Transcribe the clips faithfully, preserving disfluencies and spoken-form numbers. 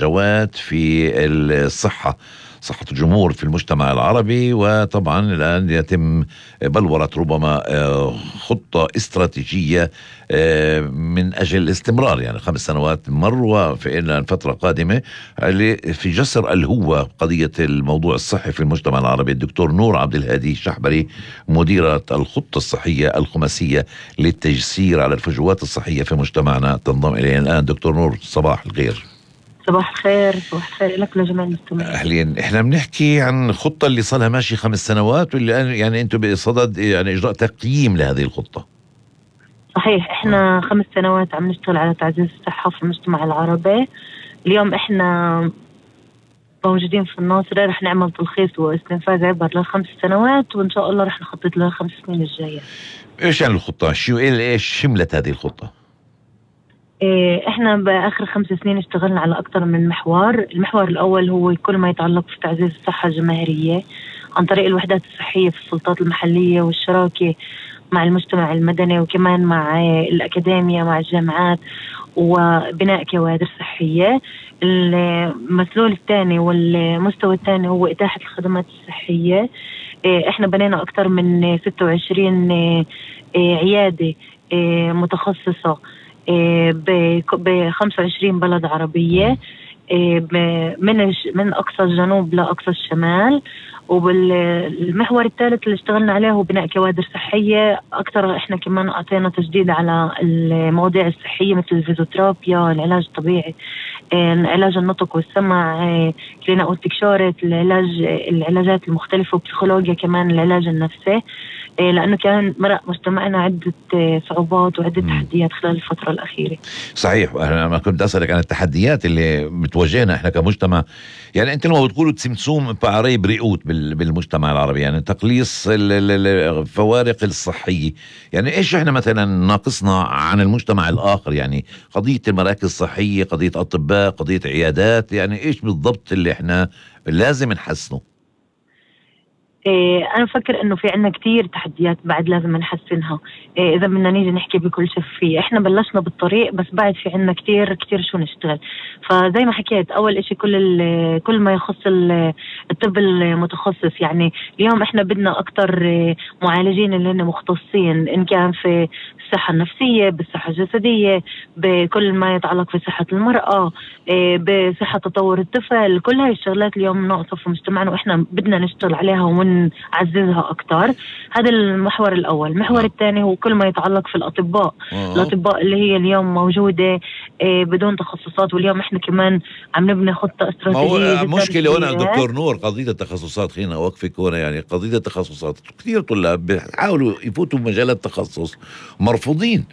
فجوات في الصحة، صحة الجمهور في المجتمع العربي. وطبعا الآن يتم بلورة ربما خطة استراتيجية من أجل الاستمرار، يعني خمس سنوات مر وفي الفترة قادمة في جسر الهوة قضية الموضوع الصحي في المجتمع العربي. الدكتور نور عبد الهادي الشحبري مديرة الخطة الصحية الخماسية للتجسير على الفجوات الصحية في مجتمعنا تنضم إلينا الآن. دكتور نور صباح الخير. صباح الخير. صباح الخير لك لجميع المستمعين. أهلين. إحنا بنحكي عن خطة اللي صارها ماشي خمس سنوات واللي يعني أنتم بصدد يعني إجراء تقييم لهذه الخطة. صحيح. إحنا خمس سنوات عم نشتغل على تعزيز الصحة في المجتمع العربي. اليوم إحنا موجودين في الناصرة، رح نعمل تلخيص واستنفاذ عبر لخمس سنوات، وإن شاء الله رح نخطط لخمس سنين الجاية. إيش يعني الخطة؟ شو إيش شملت هذه الخطة؟ احنا باخر خمس سنين اشتغلنا على اكثر من محور. المحور الاول هو كل ما يتعلق في تعزيز الصحة الجماهيرية عن طريق الوحدات الصحية في السلطات المحلية والشراكة مع المجتمع المدني وكمان مع الأكاديمية مع الجامعات وبناء كوادر صحية. المسلول الثاني والمستوى الثاني هو إتاحة الخدمات الصحية. احنا بنينا اكثر من ستة وعشرين عيادة متخصصة ب خمسة وعشرين بلد عربية من من أقصى الجنوب لأقصى الشمال. وبالمحور الثالث اللي اشتغلنا عليه هو بناء كوادر صحية أكثر. إحنا كمان أعطينا تجديد على المواضيع الصحية مثل الفيزيوثيرابيا، العلاج الطبيعي، علاج النطق والسمع، كلينا والتكشورة، العلاج العلاجات المختلفة، وبسيكولوجيا كمان العلاج النفسي، لأنه كان مرق مجتمعنا عدة صعوبات وعدة تحديات خلال الفترة الأخيرة. صحيح. أنا ما كنت أسألك عن التحديات اللي بتواجهنا إحنا كمجتمع. يعني أنت لما بتقولوا تسمسوم بعري بريئوت بالمجتمع العربي، يعني تقليص الفوارق الصحية، يعني إيش إحنا مثلا ناقصنا عن المجتمع الآخر؟ يعني قضية المراكز الصحية، قضية أطباء، قضية عيادات، يعني إيش بالضبط اللي إحنا لازم نحسنه؟ إيه أنا بفكر إنه في عنا كتير تحديات بعد لازم نحسنها. إيه إذا بدنا نيجي نحكي بكل شفافية، إحنا بلشنا بالطريق بس بعد في عنا كتير كتير شو نشتغل. فزي ما حكيت أول إشي كل كل ما يخص الطب المتخصص. يعني اليوم إحنا بدنا أكتر معالجين اللي هن مختصين، إن كان في الصحة النفسية، بالصحة الجسدية، بكل ما يتعلق في صحة المرأة، إيه بصحة تطور الطفل. كل هاي الشغلات اليوم ناقصة في مجتمعنا وإحنا بدنا نشتغل عليها ون نعززها أكتر. هذا المحور الأول. المحور الثاني هو كل ما يتعلق في الأطباء. أوه. الأطباء اللي هي اليوم موجودة إيه بدون تخصصات، واليوم إحنا كمان عم نبني خطة استراتيجية. مشكلة هنا دكتور نور قضية التخصصات، خلينا أوقفك هنا. يعني قضية التخصصات كثير طلاب بيحاولوا يفوتوا بمجال التخصص مرفوضين.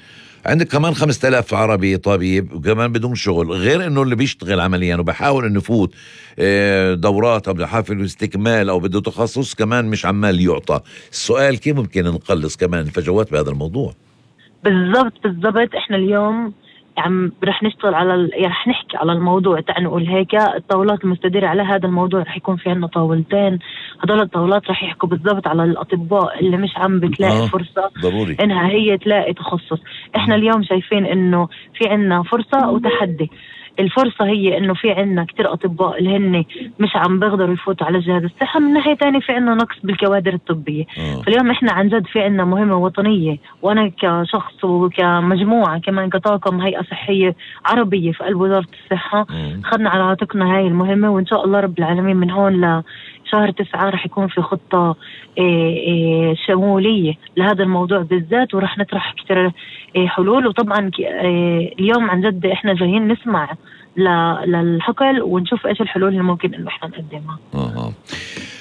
عندك كمان خمسة آلاف عربي طبيب وكمان بدون شغل، غير انه اللي بيشتغل عمليا وبحاول انه يفوت دورات او بحافل استكمال او بده تخصص كمان مش عمال يعطى. السؤال كيف ممكن نقلص كمان الفجوات بهذا الموضوع؟ بالضبط بالضبط. احنا اليوم عم رح نشتغل على ال... رح نحكي على الموضوع. تعال نقول هيك الطاولات المستديرة على هذا الموضوع رح يكون في عنا طاولتين. هذول الطاولات رح يحكوا بالضبط على الأطباء اللي مش عم بتلاقي آه. فرصة ضروري إنها هي تلاقي تخصص. إحنا اليوم شايفين إنه في عنا فرصة وتحدي. الفرصة هي إنه في عنا كتير أطباء اللي هن مش عم بيقدروا يفوتوا على جهاز الصحة. من ناحية تانية في عنا نقص بالكوادر الطبية. أوه. فاليوم إحنا عن جد في عنا مهمة وطنية، وأنا كشخص وكمجموعة كمان كطاقم هيئة صحية عربية في قلب وزارة الصحة خدنا على عاتقنا هاي المهمة. وإن شاء الله رب العالمين من هون لشهر تسعة رح يكون في خطة إيه إيه شمولية لهذا الموضوع بالذات، ورح نطرح كتير إيه حلول. وطبعا إيه اليوم عن جد إحنا جايين نسمع للحقل ونشوف ايش الحلول اللي ممكن انه احنا نقدمها. اه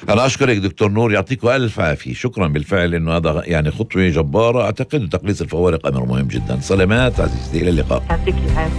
انا اشكرك دكتور نور، يعطيكم الف عافيه. شكرا بالفعل انه هذا يعني خطوه جباره. اعتقد تقليص الفوارق امر مهم جدا. سلامات عزيزتي، الى اللقاء. يعطيك العافيه.